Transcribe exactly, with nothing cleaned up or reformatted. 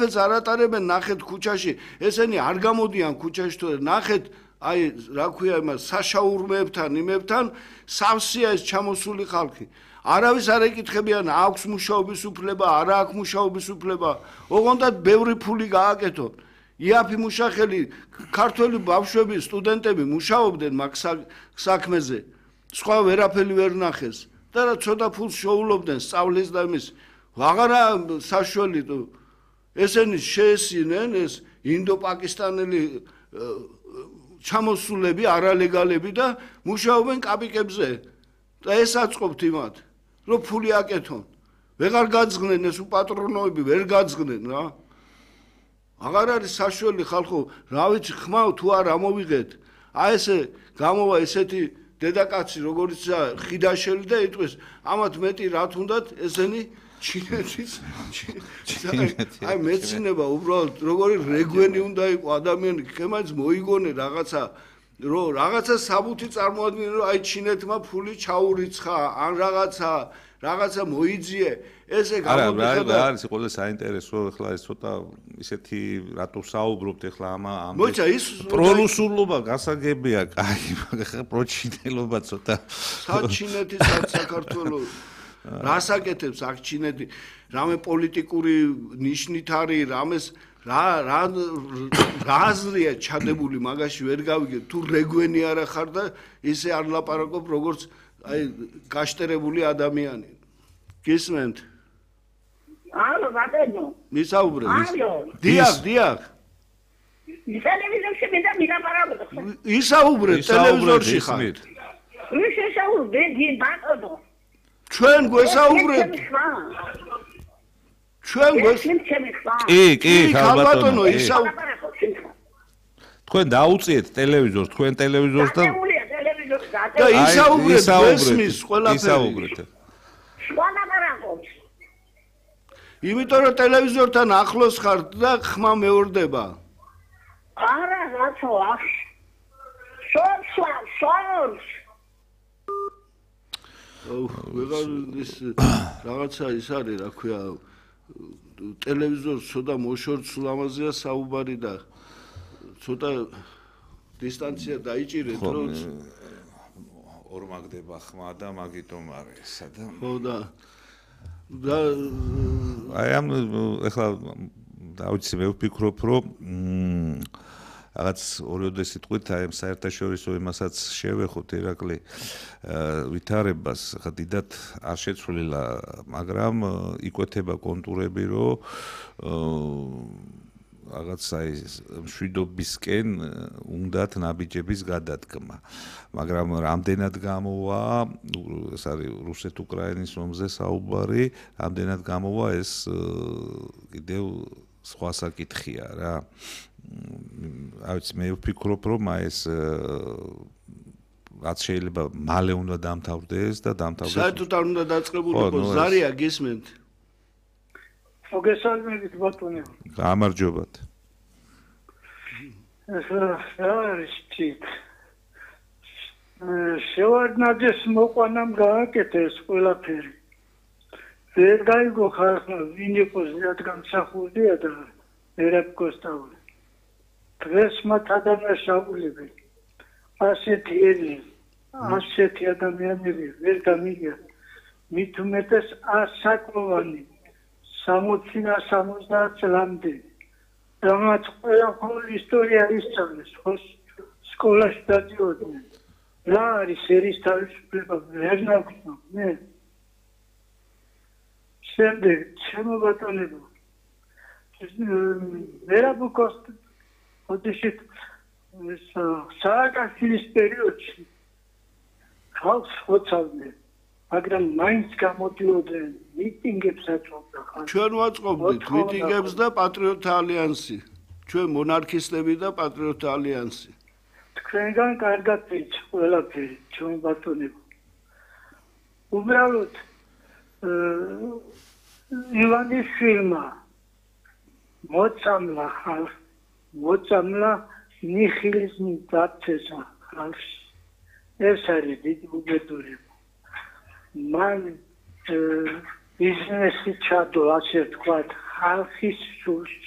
არაფერს არ ატარებენ ნახეთ ქუჩაში ესენი არ გამოდიან ქუჩაში თუ ნახეთ აი რა ქვია იმას საშაურმეებთან იმებთან სავსეა ეს ჩამოსული ხალხი არავის არ ეკითხებიან აქვს მუშაობის უფლება არა აქვს მუშაობის უფლება ოღონდ ბევრი ფული გააკეთონ იაფი მუშახელი ქართველი ბავშვები სტუდენტები მუშაობდნენ მაგ საქმეზე სხვა ვერაფერი ვერ ნახეს და რა ცოტა ფულს შოულობდნენ სწავლის და იმის აღარა საშველი თუ ესენი შეესინენ ეს ინდო-პაკისტანელი ჩამოსულები არალეგალები და მუშაობენ კაპიკებზე და ეს აწყობთ იმათ რომ ფული აკეთონ ვეღარ გაძღნენ ეს უპატრონოები ვერ გაძღნენ რა აღარ არის საშველი ხალხო რა ვიცი ხმაო თუ არ ამოვიღეთ აი ესე გამოვა ესეთი დედაკაცი როგორც ხიდაშელი და იტყვის ამათ მეტი რა თუნდათ ესენი ჩინეთის აი მეცინება უბრალოდ როგორი რეგვენი უნდა იყო ადამიანი ხემაც მოიგონე რაღაცა რომ რაღაცა საბუთი წარმოადგენენ რომ აი ჩინეთმა ფული ჩაურიცხა ან რაღაცა რაღაცა მოიძიე ესე გამოდიხება არა არის ყველა საინტერესო ახლა ეს ცოტა ისეთი რატო საუბრობთ ახლა ამ ამ მოიცა ის პროლუსულობა გასაგებია კაი მაგრამ პროჩინელობა ცოტა საჩინეთის საქართველოს რას აკეთებს აქ ჩინეთი რამე პოლიტიკური ნიშნით არის რამეს რა რა რაზრია ჩადებული მაგაში ვერ გავიგე თუ რეგვენი არა ხარ და ისე არ ლაპარაკობ როგორც აი გაშტერებული ადამიანი გისმენთ ალო ბატონო მისაუბრე დიახ დიახ ტელევიზორში მინდა მილაპარაკო ისაუბრე ტელევიზორში ხარ ის ისაუბრე დი ბატონო ჩვენ გვესაუბრეთ ჩვენ გვეს კი კი ბატონო ისაუბრე თქვენ დაუწიეთ ტელევიზორს თქვენ ტელევიზორს და და ისაუბრეთ ესმის ყველაფერი ისაუბრეთ იმიტომ რომ ტელევიზორთან ახლოს ხარ და ხმა მეორდება არა რაცო ახ სორსა სორს აუ ვეღარ ის რაღაცა ის არის რა ქვია ტელევიზორს ცოტა მოშორცულ ამაზეა საუბარი და ცოტა დისტანცია დაიჭირეთ რომ ორმაგდება ხმა და მაგიტომ არის სადა ხო და და აი ამ ეხლა დავიცი მე ვფიქრობ რომ რაღაც ორიოდე სიტყვით აი ამ საერთაშორისო იმასაც შევეხოთ ირაკლი ვითარებას ხა დიდად არ შეცვლილა მაგრამ იკვეთება კონტურები რომ რაღაც აი მშვიდობისკენ უნდათ ნაბიჯების გადადგმა მაგრამ რამდენად გამოვა ეს არის რუსეთ-უკრაინის ომზე საუბარი რამდენად გამოვა ეს კიდევ სხვა საკითხია რა აიც მე ვფიქრობ რომ ეს რაც შეიძლება მალე უნდა დამთავრდეს და დამთავრდეს საერთოდ არ უნდა დაწყებულიყო ზარია გისმენთ მოგესალმებით ბატონო გამარჯობათ ეს ჩით შევარდნაძეს მოყვანამ გააკეთეს ყველაფერი ვერ გაიგო ხალხმა ვინ იყოს რადგანსახურდია და ერებკოსტავი დღეს მათ ადამიანშაულები ასეთი ელი ასეთი ადამიანები ვერ გამიგია მით უმეტეს ასაკოვანი სამოცი და სამოცდაათ წლამდე რამაც ყველა ხოლ ისტორია ისწავლეს ხო სკოლაში დადიოდნენ რა არის ერის თავისუფლება ვერ ნაგვწო მე შემდეგ ჩემო ბატონებო ვერაბუკოსტ ოდიშით სააკაშვილის პერიოდში ხალხს ხოცავდნენ მაგრამ მაინც გამოდიოდნენ მიტინგებს აწვავდა ხალხი ჩვენ ვაწყობდით მიტინგებს და პატრიოტთა ალიანსი ჩვენ მონარქისტები და პატრიოტთა ალიანსი თქვენგან კარგად ვიცი ყველაფერი ჩვენ ბატონებო უბრალოდ ივანიშვილმა მოწამლა ხალხს მოწამლა ნიხილიზმი დაცესა ხალხს ეს არის დიდი უბედურება მან ბიზნესი ჩადო ასე ვთქვათ ხალხის სულში